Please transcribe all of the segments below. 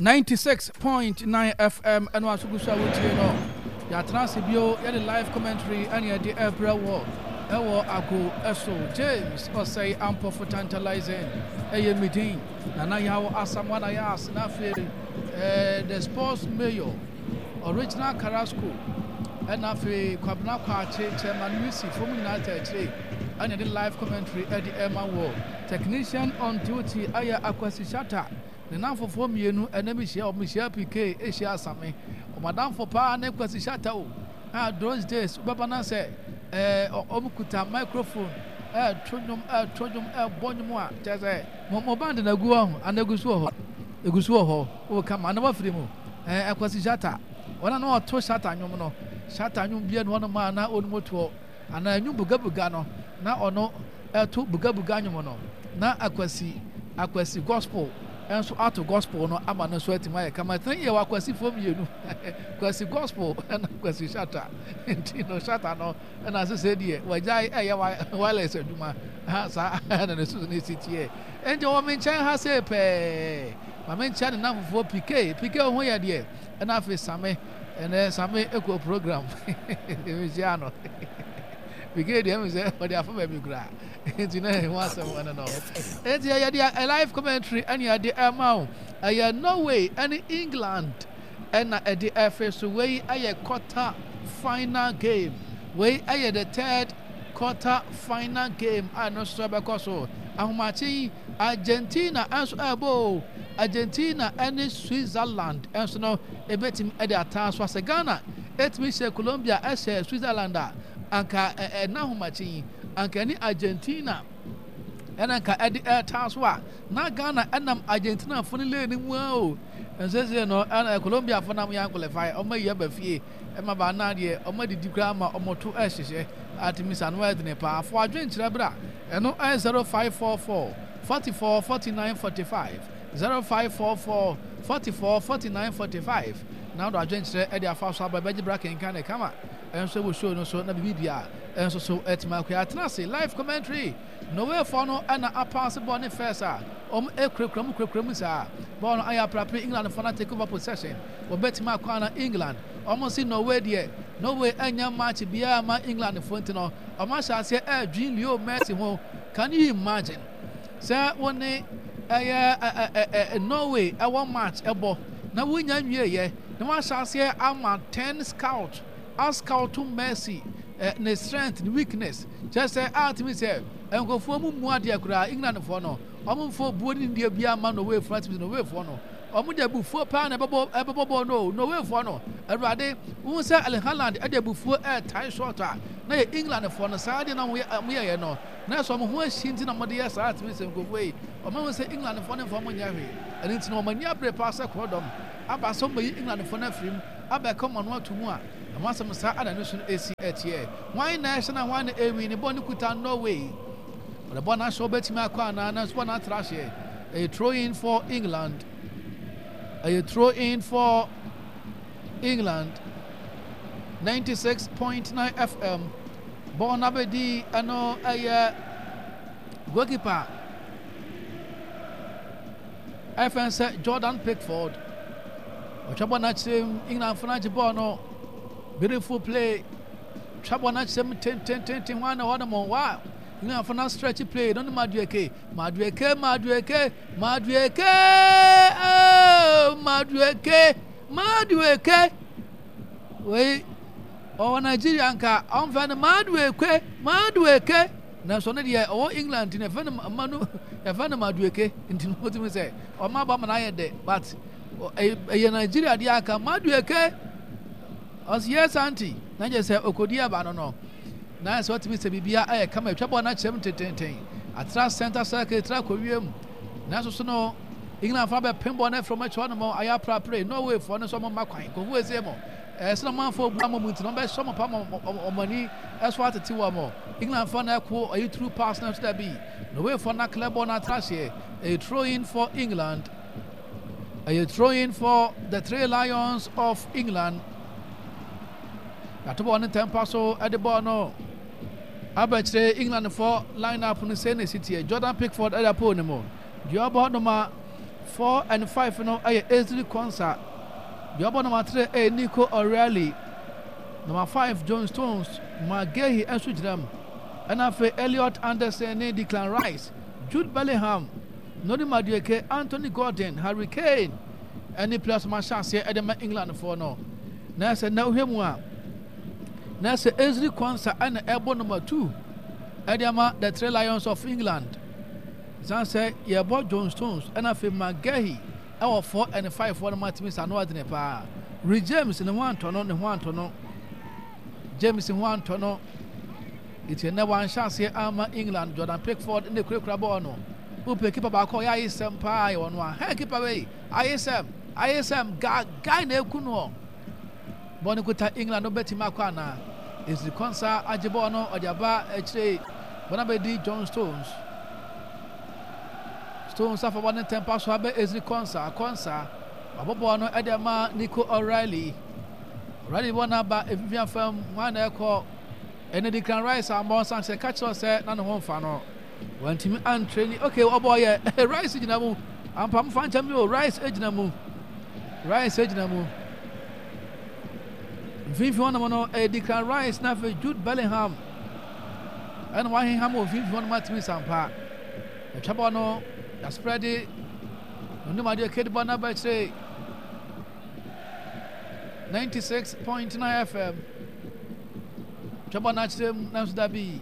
96.9 FM ɛno aso gu so a wotie no. Yɛatena ase bio yɛde live commentary ɛne ɛde ɛbrɛ wɔ ɛwɔ ago ɛso. James Ɔsɛe Ampɔfo Tantalizing ɛyɛ me din. Nana Yaw Asamoah na yɛ ase na afei eh, the sports mayor original Carrasco ɛna afei Kwabena Kwakye Chairman Wisi fo mu nyinaa ta akyire ɛne ɛde live commentary ɛde ɛma wɔ. Technician on duty ɛyɛ Akwasi Shatta. Ne nnamfofoɔ mmienu ɛnɛ me hyia wɔn, me hyia PK hyia Asame. Wɔn adamfo paa ne Kwasi Shatta o. Ah, those days wobɛba na sɛ ɛɛ wɔn kuta microphone ɛɛto nnwom ɛɛto nnwom ɛɛbɔ nnwom a kyerɛ sɛ mo mo band na egu hɔ ana egu so wɔ hɔ egu so wɔ hɔ o kama ana wafiri mu ɛɛ Kwasi Shatta wɔn a na wɔto Shatta nnwom no Shatta nnwom bia na wɔn a na wɔn toɔ anaa nnwom bugabuga no na ɔno ɛto bugabuga nnwom no na Akwasi Akwasi gospel nso ato gospel no ama no nso atumi ayɛ kama. Tena yɛ wɔ Akwasifoɔ mmienu Kwasi gospel ɛna Kwasi Shatta nti no Shatta no ɛna sese deɛ wagyae ɛyɛ wireless adwuma ha saa ɛna ne so ne si teɛ nti wɔ me nkyɛn ha sei pɛɛ ma me nkyɛn ne namfofoɔ PK PK ho yɛ deɛ ɛna afei Same ɛnɛ Same ɛkɔ program mehyia no PK deɛ ɛmu sɛ ɔde afa baabi koraa nti na ɛho asɛm ɛno no nti ɛyɛ deɛ live commentary ɛne ɛde ɛma wo ɛyɛ Norway ɛne England ɛna ɛde ɛfɛ so. Wei ɛyɛ quarter final game, wei ɛyɛ the third quarter final game a ɛno nso ɛbɛkɔ so ahomakye yi. Argentina nso ɛbɔ o, Argentina ɛne Switzerland nso no ɛbɛtumi ɛde ataa so asɛ Ghana ɛtumi hyɛ Colombia ɛhyɛ Switzerland a anka ɛna ahomakye yi anka ɛne Argentina ɛna nka ɛde ɛtaa so a na Ghana ɛnam Argentina fo no lane mu a o nsese no ɛna Colombia fo nam yɛn qualify ɔmo ayi aba fie ɛma ba na deɛ ɔmo adidi koraa ma ɔmo to ɛhyehyɛ atumi sa no ɛdene paa fo adwenkyerɛ bra ɛno ɛyɛ 0544 44 49 45 0544 44 49 45 na ɔdo adwenkyerɛ ɛde afa so aba ɛbɛgye bra kenkan ne kama ɛnso ɛwɔ show no so na biribi bia ɛnso so ɛtumi akɔ atena ase live commentary. Norwayfoɔ no na apaase bɔɔl no first a wɔn kurakura mu kurakura mu saa. Bɔɔl no ayɛ aprapre Englandfoɔ no take over possession. Wɔbɛtumi akɔ ana England? Wɔn se Norway deɛ Norway anya match biara ma Englandfoɔ nti no wɔn ahyɛ aseɛ ɛredwen Leo Messi ho. Can you imagine sɛ wo ne ɛyɛ Norway ɛwɔ match ɛbɔ na wonya nwieɛ na wɔahyɛ aseɛ ama 10 scout ascout Messi ne strength ne weakness kyerɛ sɛ atumi sɛ nkurɔfoɔ mu mu adeɛ koraa Englandfoɔ no wɔn mfa obuo ne nidie biara mma Norwayfoɔ atumi sɛ Norwayfoɔ no wɔn de abufuo paa na ɛbɛbɔ ɛbɛbɔ bɔɔl no Norwayfoɔ no awurade wohu sɛ Erling Haaland ɛde abufuo ɛɛtae shot a na yɛ Englandfoɔ no saa deɛ na wɔn yɛyɛ no na ɛsɛ wɔn ho ahyi nti na wɔde yɛ saa atumi sɛ nkurɔfoɔ yi wɔn ahu sɛ Englandfoɔ no mfa wɔn nyɛ hwee ɛno nti na wɔn ani abere paa sɛ korɔdɔm aba sɛ wɔn bɛyi Englandfoɔ no afiri mu abɛka wɔn ano ato mu a Ɛho asɛm saa ara na ɛno nso no esi ɛteɛ. Hwan na ɛhyɛ na hwan na ɛwi ne bɔ ne kuta Norway. Ɔde bɔ n'ahyɛ ɔbɛtumi akɔ anaa nanso bɔ n'atra ahyɛ. Ɛyɛ throw in for England. Ɛyɛ throw in for England. 96.9 FM. Bɔɔl no abɛdi ɛno ɛyɛ goalkeeper ɛfɛn sɛ Jordan Pickford. Ɔtwa bɔ no akyerɛ mu, Englandfo no agye bɔɔl no. Beautiful play. Twa bɔ no akyerɛ mu tentententen hɔ na hɔ nom. Wow! Englandfo no stretch play no ne Madueke. Madueke, Madueke, Madueke! Oh, Madueke, Madueke. Wei, ɔwɔ Nigeria nka ɔmfɛ no Madueke, Madueke. Nanso ɔno deɛ ɔwɔ England nti no yɛfrɛ no Manu yɛfrɛ no Madueke nti no wotumi sɛ ɔma aba ma no ayɛ dɛ but ɛyɛ Nigeria deɛ aka Madueke ɔsi yes aunty na gye sɛ okodi aba no no na sɛ ɔtumi sɛ biribia ayɛ kama atwa bɔɔl no akyerɛ mu tententen atra center circle tra kɔ wiem nanso so no England fa bɛpem bɔɔl no afiri ɔmo akyi hɔ nom ayɛ aprapre Norway foɔ no nso ɔmo mma kwan kɔhu esie mo Ɛsɛ na ɔmanfoɔ bu ama mu nti na wɔbɛhyɛ wɔn pa ma wɔn ani so atete wɔn. Englandfoɔ na ɛko ɛyi through pass na ɛso dabi. Norwayfoɔ na clear ball na atra aseɛ. Ɛyɛ throw in for England. Ɛyɛ throw in for the Three Lions of England. Yɛato bɔɔl no ntɛmpa so ɛde bɔɔl no abɛkyerɛ Englandfoɔ line up no sɛ na ɛsi teɛ. Jordan Pickford ɛda pole no mu. Deɛ ɔbɔ no ma. 4 and 5 no yɛ Ezri Konsa. Deɛ ɔbɔ number 3 yɛ Nico O'Reilly. Number 5 John Stones, Marc Guehi nso gyina mu. Ɛna afei Elliot Anderson ne Declan Rice, Jude Bellingham, Noni Madueke, Anthony Gordon, Harry Kane ɛne players ma hyɛ aseɛ ɛde ma Englandfoɔ no. Na sɛ na wohwɛ mu a, na sɛ Ezri Konsa ɛna ɛbɔ number 2 ɛde ama the Three Lions of England. Ɛsiane sɛ yɛbɔ John Stones ɛna afei Marc Guehi ɛwɔ 4 ɛne 5 foɔ no ma tumi sa ano adene paa. Reece James ne ho antɔ no, ne ho antɔ no. James ho antɔ no. Eti ɛnɛ wanhyɛ aseɛ ama England. Jordan Pickford ne kurakura bɔɔl no. Wopɛ kipa baako a ɔyɛ ayesɛm paa yɛ ɔno a. Hɛ kipa wei ayesɛm ayesɛm ga guy na eku noɔ. Bɔɔl no kuta England no bɛtumi akɔ anaa? Ezri Konsa agye bɔɔl no ɔde aba akyire. Bɔɔl no abɛdi John Stones. Stones afa bɔɔl no ntɛmpa so abɛ Ezri Konsa. Konsa wabɔ bɔɔl no de ama Nico O'Reilly. O'Reilly bɔɔl no aba mfimfini afam. Hwan na ɛkɔ? Ɛne Declan Rice ammɔ nsan sɛ ka kyerɛ sɛ na ne ho mfa no. Wantumi antre ni. Okay, ɔbɔ yɛ. Rice gyina mu. Ampa mo fa nkyɛn mi o. Rice gyina mu. Rice gyina mu. Mfimfini hɔnom no ɛyɛ Declan Rice na afei Jude Bellingham. Ɛna waheham wɔ mfimfini hɔnom atumi sampa. Atwa bɔ no, yɛasprɛde. Onim adeɛ kedi bɔ no abɛkyerɛ 96.9 FM. Twa bɔ no akyerɛ mu nanso dabi.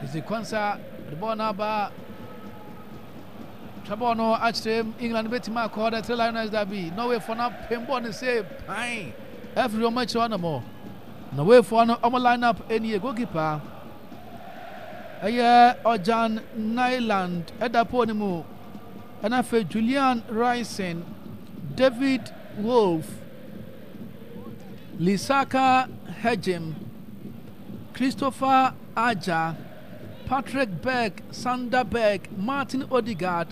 Ɛdzi kwansa de bɔɔl no aba. Twa bɔɔl no akyerɛ mu. England bɛtumi akɔ the Three Lioness dabi. Norwayfoɔ no apem bɔɔl no sɛ pan afiri wɔn akyiri hɔ nom. Norwayfoɔ no wɔn line up nie goalkeeper ɛyɛ Ørjan Nyland ɛda pole no mu. Ɛna afei Julian Ryerson, David Wolf, Lisaka Hejim, Christopher Aja, Patrick Berg, Sander Berg, Martin Odegaard,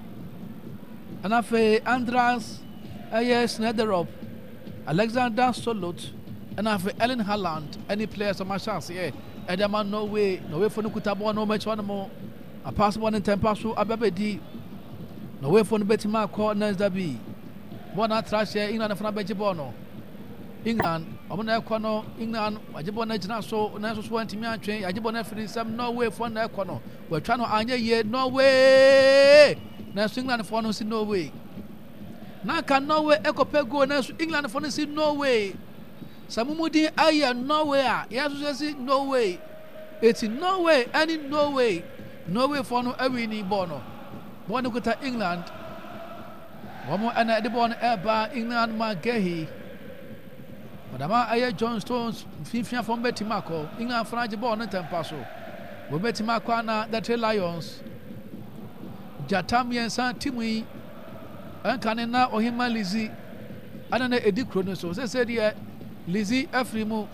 ɛna afei Andreas ɛyɛ Schneiderop, Alexander Solot, ɛna afei Erling Haaland ɛne players ɔmo ahyɛ aseɛ ɛde ama Norway. Norwayfoɔ no kuta bɔɔl no wɔn akyi hɔ nom. Apaase bɔɔl no ntɛmpa so aba bɛdi. Norwayfoɔ no bɛtumi akɔ next derby. Bɔɔl no atra hyɛ England fo no abɛgye bɔɔl no. England wɔn na ɛkɔ no. England wɔagye bɔɔl no agyina so nanso so wɔntumi antwe. Yɛagye bɔɔl no afiri nsam. Norway foɔ na ɛkɔ no. Wɔatwa no anyɛ yie. Norway nanso England foɔ no si Norway. Na nka Norway ɛkɔpɛ goal nanso England foɔ no si Norway. Sɛ mo mu din ayɛ Norway a yɛn nso yɛsi Norway. Eti Norway ɛne Norway. Norway foɔ no awini bɔɔl no. Bɔɔl no kuta England. Wɔn ɛna ɛde bɔɔl no ɛreba England ma Gehi. Ɔdama ɛyɛ John Stones mfimfini afɔm bɛtumi akɔ. England fana agye bɔɔl no ntɛmpa so. Wɔn bɛtumi akɔ ana the Three Lions. Gyata mmiɛnsa timu yi ɛnka ne na Ɔhema Lizzie ɛna na ɛdi kuro no so. Sɛsɛ deɛ Lizzie afiri mu.